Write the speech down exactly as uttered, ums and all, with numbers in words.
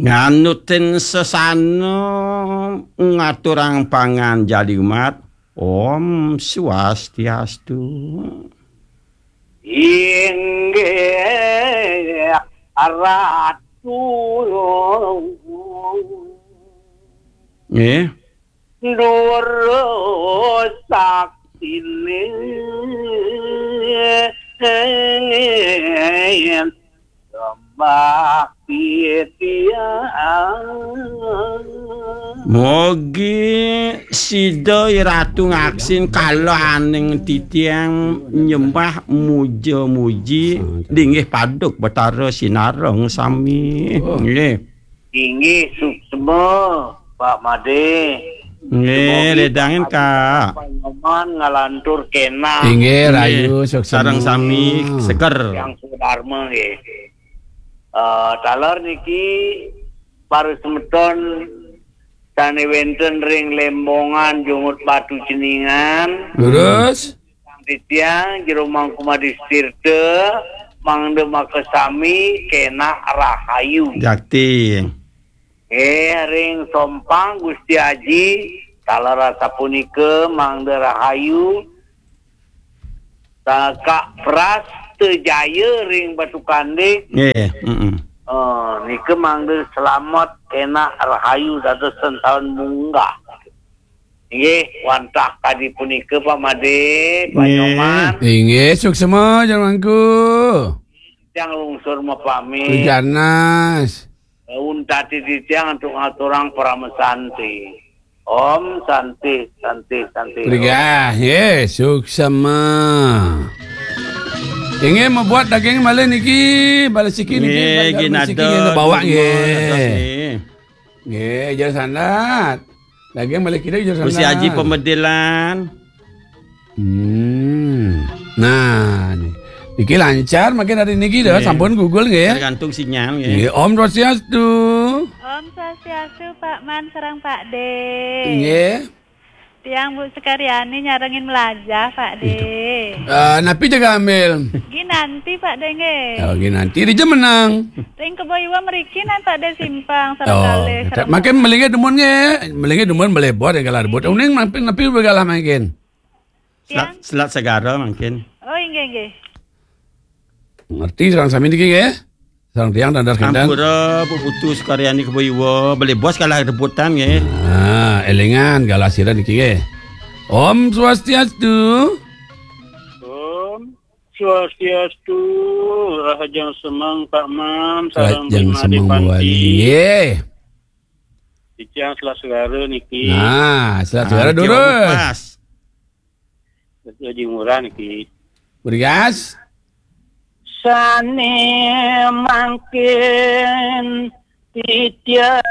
Nganutin sesana, ngaturang panganjali umat. Om Swastiastu. Inggih Ratu. Nggih. Dura saktine sembah titiang. Mogi sida Ratu ngaksin kalaning titiang nyembah muja-muji. Linggih paduk Betara Sinareng sami. Oh. Nggih. Inggih, suksma, Pak Made. Nggih, semoga ridangin, Pak Kak. Panyoman ngalantur kenah. Inggih, nggih, rahayu, suksma. Sareng sami seger. Yang Swadharma, nggih. Eh, taler niki para semeton sane wenten ring Lembongan, Jumut Batu, Ceningan. Terus? Titiang Jero Mangku Madis Tirta, mangda makasami kenah rahayu. Jakti. Eh, ring Sompang Gusti Aji, taler asapunika mangda rahayu. Sa-, Kak Pras Tejaya ring Batu Kandik. Nggih, heeh. Eh, nika mangda selamet kenah rahayu dados sentaun munggah. Inggih, wantah kadi punika, Pak Made, Pak, nggih, Nyoman. Inggih, suksma, Jero Mangku. Titiang lungsur mapamit. Ganas. Untati titiang antuk ngaturang parama santi. Om Santi, Santi, Santi. Brigah, nggih, suksma. Inggih, mabuat daging malih niki, malih siki niki, nggih, bawak, nggih. Nggih, Jero Sandat. Daging malih kida Jero Sandat. Gusti Aji Pamedilan. Hmm. Nah, ni-, niki lancar makin hari niki dah, nggih, sampun Google nggih. Tergantung sinyal nggih. Nggih, Om Swastiastu. Om Swastiastu, Pak Man sareng Pak De. Nggih. Tiang Bu Sekaryani nyarengin melajah, Pak De. Eh, napi jaga ambil? Ginanti, Pak De, nggih. Oh, Ginanti di Jemenang. Ring Kebo Iwa mriki nan, Pak De, simpang sareng, oh, kalih, sareng makin melingit dumun nggih. Melingit dumun melebot ya galah rebut. Uning napi, napi begalah makin. Selat, tiang? Selat Segara mungkin. Oh, inggih, inggih. Ngerti sareng sami niki nggih? Sareng tiang dan das kendang. Ampura, Bu Putu Sekaryani Kebo Iwa, beli bos kalah rebutan nggih. Nah, elingan galah sira niki nggih. Om Swastiastu. Om Swastiastu, rahajeng semeng Pak Man, sareng rahajeng semeng Made Panti. Nggih. Titiang Selat Segara niki. Nah, Selat Segara durus. Pas. Haji Murah niki. Berias. Sane mangkin titiang